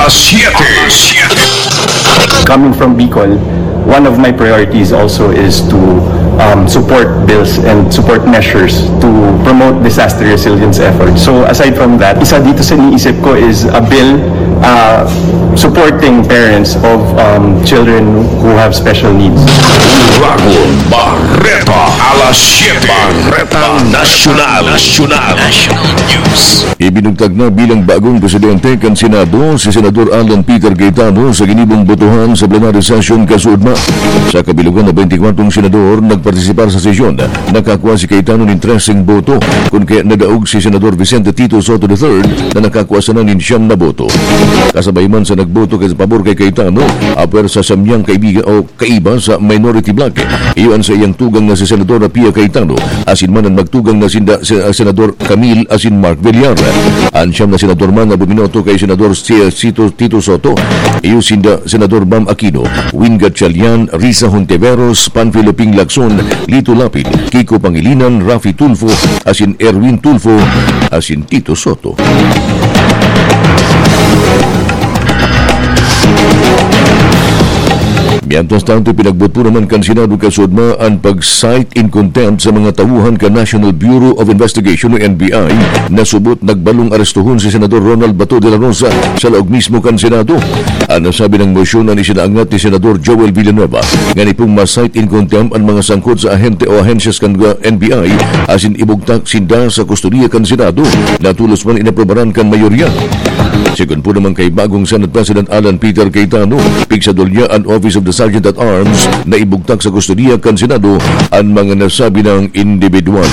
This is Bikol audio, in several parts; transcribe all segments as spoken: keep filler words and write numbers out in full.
Siete. Coming from Bicol, one of my priorities also is to um, support bills and support measures to promote disaster resilience efforts. So aside from that, isa dito sa iniisip ko is a bill uh, supporting parents of um, children who have special needs. Ragon Barreta, alas siete. Barretang Nasyonal. Nasyonal. National News. Ibinugtag na bilang bagong presidente kan Senado si Senador Alan Peter Cayetano sa ginibong botohan sa plenary session kasuodma. Sa kabilugan na twenty-four senador nagpartisipar sa sesyon, nakakua si Cayetano nin treseng boto, kun kaya nadaog si Senador Vicente Tito Sotto the third na nakakua sana nin siyam na boto. Kasabay man sa nagboto kay pabor kay Cayetano, apwer sa samyang kaibigan o kaiba sa minority bloc. Iyo an saiyang tugang na si Senador Pia Cayetano, asin man an magtugang na sinda si Senador Camille asin Mark Villar. An siyam na senador man na buminoto kay Senador si Sito Tito Sotto, iyo sinda Senador Bam Aquino, Win Gatchalian, Risa Hontiveros, Panfilo Ping Lacson, Lito Lapid, Kiko Pangilinan, Raffy Tulfo, asin Erwin Tulfo, asin Tito Sotto. Mientras tanto, pinagbot po naman kan Senado kasuodma an pag-cite in contempt sa mga tauhan kan National Bureau of Investigation o N B I na subot nagbalong arestohon si Senador Ronald Bato de la Rosa sa laog mismo kan Senado. An nasabi ng motion an isinaangat ni Senador Joel Villanueva, ngani pong ma-cite in contempt an mga sangkot sa ahente o ahensyas kan N B I asin ibugtak sinda sa kustodiya kan Senado na tulos man inaprobaran kan mayorya. Sigon po naman kay bagong Senate President Alan Peter Cayetano, pigsadol niya an Office of the Sergeant at Arms na ibugtak sa kustodiya kan Senado an mga nasabi ng individual.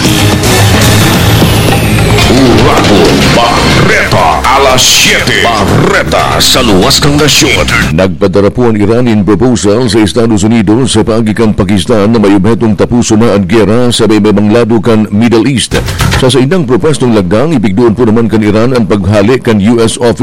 Ragon Barreta, alas siete. Barreta sa luwas ng nasyon. Nagpadara po an Iran in proposal sa Estados Unidos sa paagi kan Pakistan na may obhetong tapuson na an gera sa may, may mga lado kan Middle East. Sa saindang propwestong lagdang, ipigdoon po naman kan Iran an paghale kan U S office